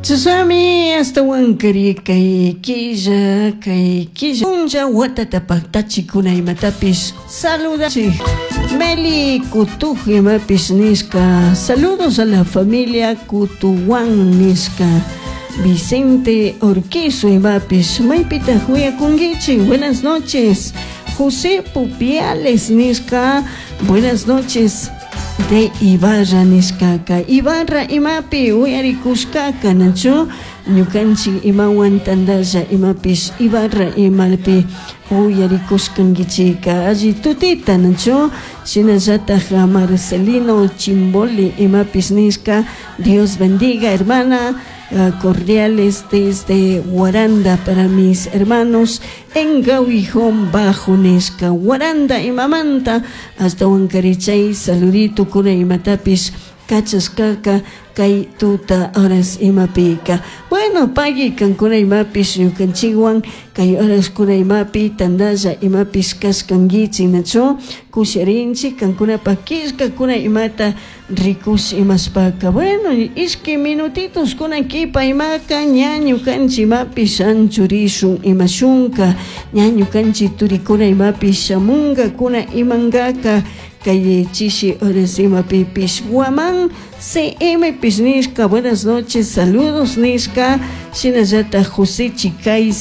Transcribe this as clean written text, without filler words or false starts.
Chashnami ashtahuankari kay killa, kay killa punlla watata paktachikuna imatapish saludachik. Meli Kutuj imapish nishka, saludos a la familia Kutuwan nishka. Vicente Orquizo imapish, maypitaj uyakunkichik? Buenas noches. José Pupiales nishka, buenas noches. De Ibarra nishkaka, Ibarra imapi uyarikushkaka nachu ñukanchik imawan tandalla imapish Ibarra imapi uyarikushkankichika alli tutita nachu shinallataj Marcelino Chimboli imapish nishka Dios bendiga hermana cordiales desde Guaranda para mis hermanos en Gawijón Bajo nishka Guaranda imamanta ashtahuankari chay saludito kuna imatapish kachashkaka kay tuta horas imapika. Bueno, pagui kankuna imapish ñukanchikwan kay horaskuna imapi tandalla imapish kashkankichik nachu kusharinchik kankunapak killkakuna imata rikush imashpaka. Bueno, ishki minutitos kuna kipa imaka ña ñukanchik imapish anchurishun imashunka ña ñukanchik turikuna imapish shamunka kuna imankaka kay chishi horas imapipish Guamán CM pish nishka buenas noches saludos nishka shinallataj José Chicay.